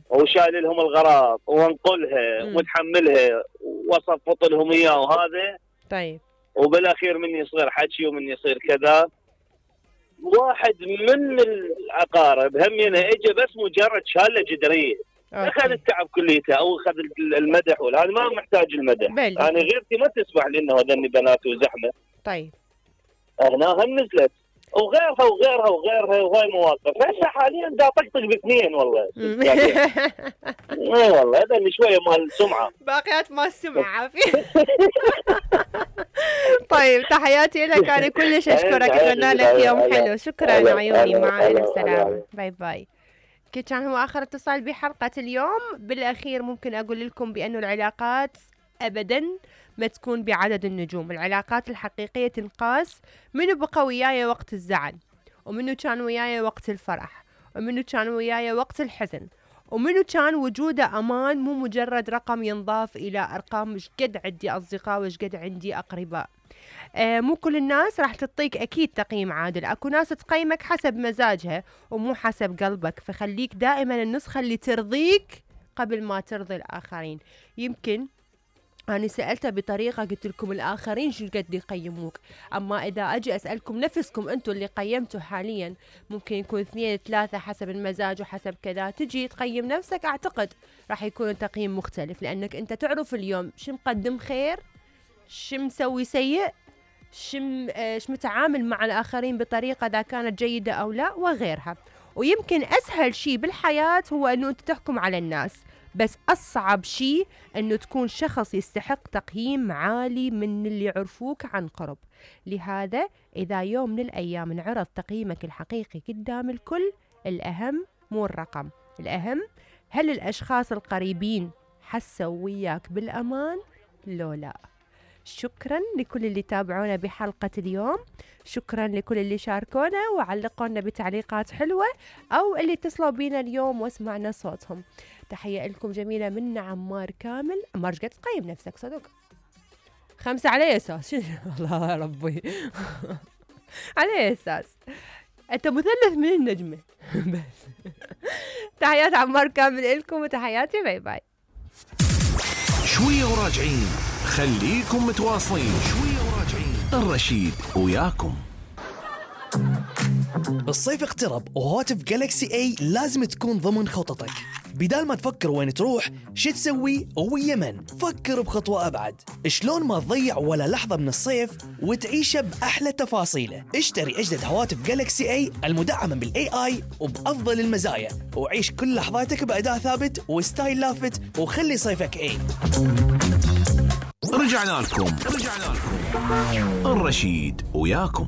وشايل لهم الغراض وانقلها وتحملها وصفط لهم اياه وهذا. طيب. وبالاخير من يصير حكي ومن يصير كذا. واحد من العقارب همينه اجى بس مجرد شاله جدريه، اخذ التعب كليته او اخذ المدح، والهذا ما محتاج المدح. يعني غيرتي ما تسمح لي انه هذني بنات وزحمه. طيب. هنا هم نزلت وغيرها وغيرها وغيرها، وهاي مواقف. هسه حاليا دا طقطق باثنين والله. اي والله هذا اللي شويه مال سمعه، باقيات مال سمعه عافيه. طيب تحياتي لك، انا كلش اشكرك، اتمنى لك يوم حلو. شكرا عيوني، مع الف سلامه، باي باي. كان هو اخر اتصال بحلقه اليوم. بالاخير ممكن اقول لكم بانه العلاقات ابدا ما تكون بعدد النجوم. العلاقات الحقيقيه تنقاس منو بقى وياي وقت الزعل، ومنو كان وياي وقت الفرح، ومنو كان وياي وقت الحزن، ومنو كان وجوده أمان، مو مجرد رقم ينضاف إلى أرقام. مش قد عندي أصدقاء وش قد عندي أقرباء. مو كل الناس راح تعطيك أكيد تقييم عادل. أكو ناس تقيمك حسب مزاجها ومو حسب قلبك، فخليك دائما النسخة اللي ترضيك قبل ما ترضي الآخرين. يمكن أنا سألتها بطريقة قلت لكم الآخرين شو قد يقيموك، أما إذا أجي أسألكم نفسكم أنتوا اللي قيمتوا حاليا، ممكن يكون 2 3 حسب المزاج وحسب كذا. تجي تقيم نفسك، أعتقد راح يكون تقييم مختلف، لأنك أنت تعرف اليوم شو مقدم خير، شو مسوي سيء، شو متعامل مع الآخرين بطريقة إذا كانت جيدة أو لا وغيرها. ويمكن أسهل شيء بالحياة هو أنه أنت تحكم على الناس، بس أصعب شيء أنه تكون شخص يستحق تقييم عالي من اللي يعرفوك عن قرب. لهذا إذا يوم من الأيام انعرض تقييمك الحقيقي قدام الكل، الأهم مو الرقم، الأهم هل الأشخاص القريبين حسوا وياك بالأمان لو لا. شكرا لكل اللي تابعونا بحلقة اليوم، شكرا لكل اللي شاركونا وعلقونا بتعليقات حلوة أو اللي اتصلوا بينا اليوم واسمعنا صوتهم. تحية لكم جميلة من عمار كامل. عمار قد تقيم نفسك صدق 5 على أساس الله ربي على أساس أنت مثلث من النجمة بس. تحيات عمار كامل لكم وتحياتي، باي باي. شوية وراجعين، خليكم متواصلين. شوية وراجعين، الرشيد وياكم. الصيف اقترب وهاتف جالكسي اي لازم تكون ضمن خططك. بدال ما تفكر وين تروح شو تسوي ويا من، فكر بخطوة أبعد. شلون ما تضيع ولا لحظة من الصيف وتعيشه بأحلى تفاصيله. اشتري أجدد هواتف جالكسي اي المدعمة بالاي اي وبأفضل المزايا، وعيش كل لحظاتك بأداء ثابت وستايل لافت، وخلي صيفك اي. رجعنا لكم الرشيد وياكم.